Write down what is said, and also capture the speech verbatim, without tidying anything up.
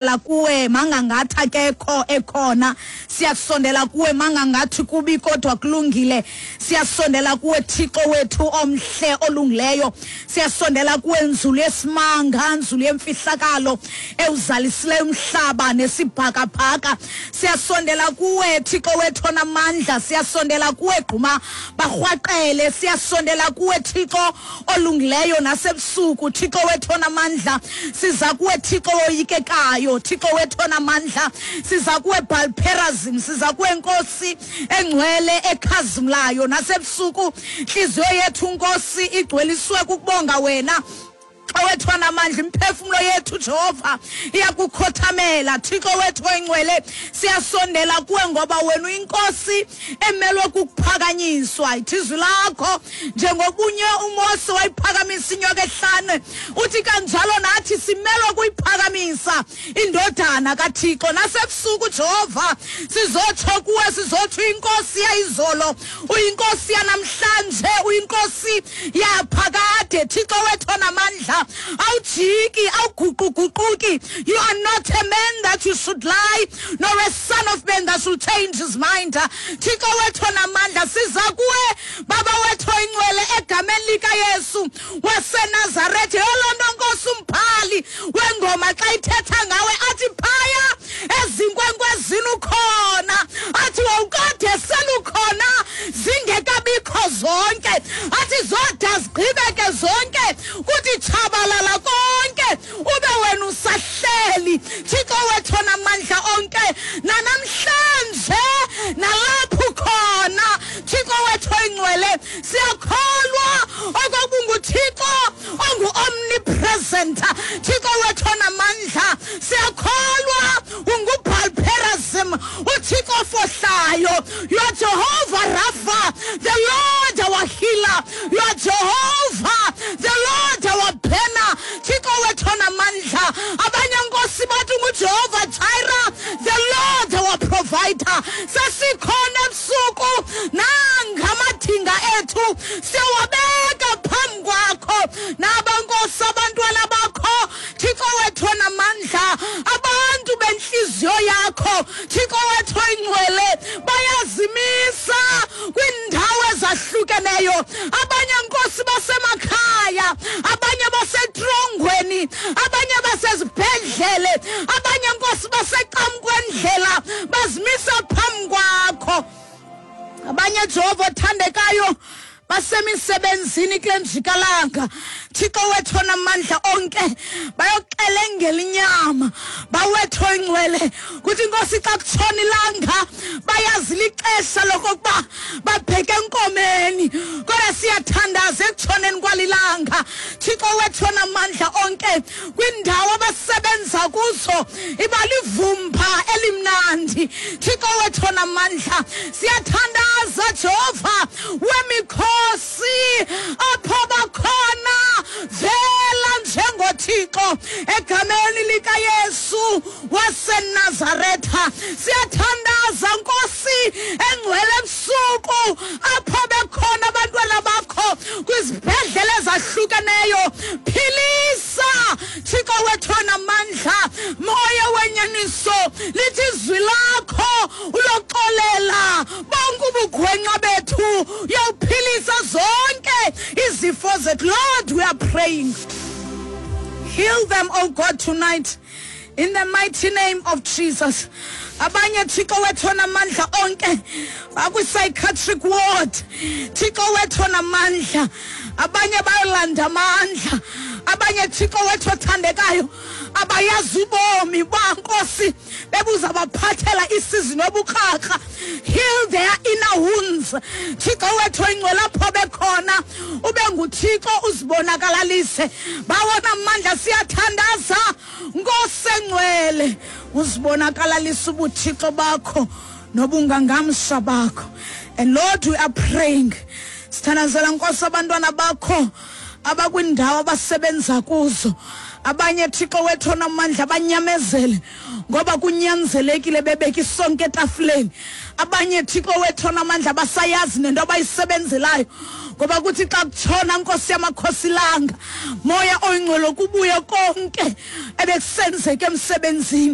Kuwe mangangathi akekho ekhona, siyasondela kuwe mangangathi kubi kodwa kulungile. Siyasondela kuwe, Thixo wethu omhle olungileyo. Siyasondela kuwe, nzulu yesimanga, nzulu yemfihlakalo ewuzalisileyo umhlaba nesibhakabhaka. Siyasondela kuwe, Thixo wethu onamandla. Siyasondela kuwe, gquma barhwaqele. Siyasondela kuwe, Thixo olungileyo, nasebusuku, Thixo wethu onamandla. Siza kuwe, Thixo woyikekayo, Thixo wethu onamandla. Siza kuwe, Balperazim. Siza kuwe, Nkosi engcwele ekhazimlayo, nasebusuku intliziyo yethu, Nkosi, igcweliswe kukubonga wena, Thixo wethu onamandla. Imphefumlo yethu, Jehova, iyakukhothamela, Thixo wethu oyingcwele. Siyasondela kuwe ngoba wena uyinkosi emelwe kukuphakanyiswa. Ithi izwi lakho, njengobunye uMose wayiphakamisa inyoka ehlane, uthi kanjalo nathi simelwe kuyiphakamisa indodana kaThixo. Nasebusuku, Jehova, sizotsho kuwe, sizotsho uyinkosi yayizolo, uyinkosi yanamhlanje, uyinkosi yaphakade. Thixo wethu onamandla, awujiki, awuguquguquki. You are not a man that you should lie, nor a son of man that should change his mind. Thixo wethu onamandla, siza kuwe, Baba wethu oyingcwele, egameni likaYesu waseNazaretha. Yoloo nto, Nkosi, umbhali wengoma xa ithetha ngawe athi phaya ezinkwenkwezini ukhona, athi wawukade selukhona zingekabikho zonke, athi zoda zigqibeke zonke, kuthi tshabalala konke, ube wena usahleli. Thixo wethu onamandla onke, nanamhlanje nalapho ukhona, Thixo wethu oyingcwele, siyakholwa okokuba unguThixo ongu-omnipresent. Thixo wethu onamandla, siyakholwa unguBalperazim, uThixo ofohlayo. You are Jehovah Rapha, the Lord our healer. You are Jehovah, the Lord our banner. Thixo wethu onamandla, abanye, Nkosi, bathi unguJehova Jireh, the Lord our provider. Sesikhona ebusuku, nangamadinga ethu siyawabeka phambi kwakho. Naba, Nkosi, abantwana bakho, Thixo wethu onamandla, abantu bentliziyo yakho, Thixo wethu oyingcwele, bayazimisa kwiindawo ezahlukeneyo. Abanye, Nkosi, basemakhaya, abanye basetrongweni, abanye basezibhedlele, abanye, Nkosi, baseqamkwendlela, bazimisa phambi kwakho. Abanye, Jehova othandekayo, basemisebenzini kule njikalanga, Thixo wethu onamandla onke, bayoxelengela inyama. Bawethu oyingcwele, kuthi, Nkosi, xa kutshona ilanga bayazi lixesha lokokuba babheke enkomeni, kodwa siyathandaza ekutshoneni kwalilanga, Thixo wethu onamandla onke, kwindawo abasebenza kuzo iba livumba elimnandi. Thixo wethu onamandla, siyathandaza, Jehova wemikhosi, apho bakhona vela njengoThixo egameni likaYesu waseNazaretha. Siyathandaza, Nkosi engcwele, ebusuku apho bekhona abantwana bakho kwizibhedlele ezahlukeneyo, philisa, Thixo wethu onamandla. Moya wenyaniso, lithi izwi lakho uyoxolela bonke ubugwenxa bethu, uyawuphilisa zonke izifo zethu. Lord, we are praying, heal them, oh God, tonight in the mighty name of Jesus. Abanye, Thixo wethu onamandla onke, bakwi-psychiatric ward, Thixo wethu onamandla. Abanye bayolanda amandla. Abanye, Thixo wethu othandekayo, abayazi ubomi bankosi bebuza baphathela isizi nobukrakra. Heal their inner wounds, Thixo wethu oyingcwele. Apho bekhona ube nguThixo, uzibonakalalise. Bawona amandla, siyathandaza, Nkosi engcwele, uzibonakalalise ubuthixo bakho nobungangamsha bakho. And Lord, we are praying, sithandazela, Nkosi, abantwana bakho abakwindawo abasebenza kuzo. Abanye, Thixo wethu onamandla, banyamezele ngoba kunyanzelekile bebeka isonke etafuleni. Abanye, Thixo wethu onamandla, basayazi nento abayisebenzelayo. Ngoba kuthi xa kutshona, Nkosi yamakhosi, ilanga, Moya Oyingcwele, kubuye konke ebekusenzeka emsebenzini.